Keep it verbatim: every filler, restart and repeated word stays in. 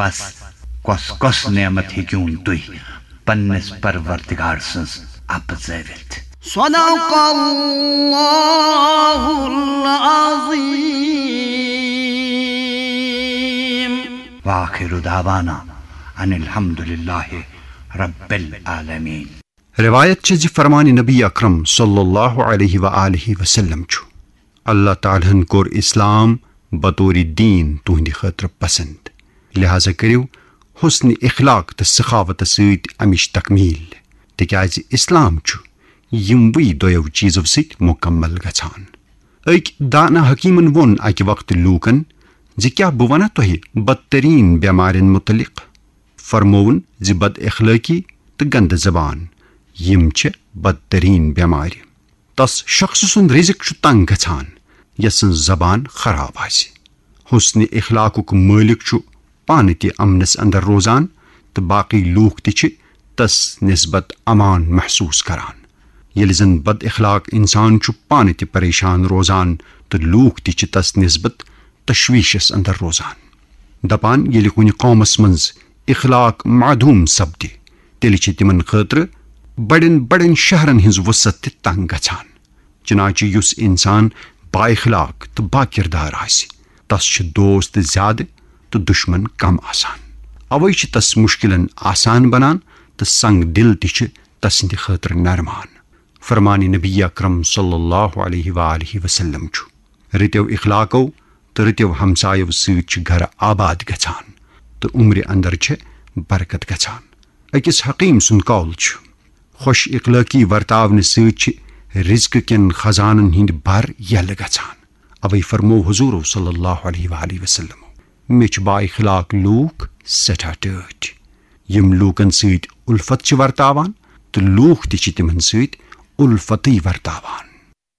پس کۄس کۄس نعمت ہیٚکِوُن تُہۍ پننِس پروردگار سٕنٛز اپزٲوِتھ؟ صدق اللہ العظیم۔ وآخر دعوانا ان الحمد للہ رب العالمین۔ روایت چھِ زِ فرمان نبی اکرم صلی اللہ علیہ و آلہ وسلم چھُ، اللہ تعالیٰ ہن کوٚر اسلام بطور دین تُہنٛدِ خٲطرٕ پسند، لہذا کٔرِو حسن اخلاق تہٕ سخاوتس سۭتۍ امِچ تکمیل، تِکیازِ اسلام چھُ یِموٕے دۄیو چیزو سۭتۍ مکمل گژھان۔ أکۍ دانا حکیمن ووٚن اکہِ وقتہٕ لوٗکن زِ کیٛاہ بہٕ ونہ تۄہہِ بدترین بٮ۪مارٮ۪ن متعلق؟ فرمووُن زِ بد اخلٲقی تہٕ گندٕ زبان، یِم چھِ بدترین بٮ۪مارِ۔ تس شخص سُنٛد رزق چھُ تنگ گژھان، یس سٕنٛز زبان خراب آسہِ۔ حسن اخلاقُک مٲلک چھُ پانہٕ تہِ امنس اندر روزان تہٕ باقی لوٗکھ تہِ چھِ تس نسبت امان محسوس کران۔ ییٚلہِ زن بد اخلاق انسان چھُ پانہٕ تہِ پریشان روزان تہٕ لوٗکھ تہِ چھِ تس نسبت تشویشس اندر روزان۔ دپان، ییٚلہِ کُنہِ قومس منٛز اخلاق معدوم سپدِ، تیٚلہِ چھِ تِمن خٲطرٕ بڑٮ۪ن بڑٮ۪ن شہرن ہٕنٛز وسعت تہِ تنگ گژھان۔ چنانچہ یُس انسان با اخلاق تہٕ با کردار آسہِ، تس چھِ دوست زیادٕ تہٕ دشمن کم آسان۔ اوے چھِ تس مشکلن آسان بنان تہٕ سنگ دل تہِ چھِ تسٕنٛدِ خٲطرٕ نرمان۔ فرمان نبی اکرم صلی اللہ علیہ و آلہ وسلم چھُ، رٕتیو اخلاقو تہٕ رٕتیو ہمسایو سۭتۍ چھِ گرٕ آباد گژھان تہٕ عمرِ اندر چھِ برکت گژھان۔ أکِس حکیم سُنٛد قول چھُ، خۄش اخلٲقی ورتاونہٕ سۭتۍ چھِ رزقہٕ کٮ۪ن خزانن ہٕنٛدۍ بر یلہٕ گژھان۔ اوے فرموو حضور صلی اللہ علیہ وآلہ وسلم، مےٚ چھِ با اخلاق لوٗکھ سٮ۪ٹھاہ ٹٲٹھۍ، یِم لوٗکن سۭتۍ الفت چھِ ورتاوان تہٕ لوٗکھ تہِ چھِ تِمن سۭتۍ الفتٕے ورتاوان۔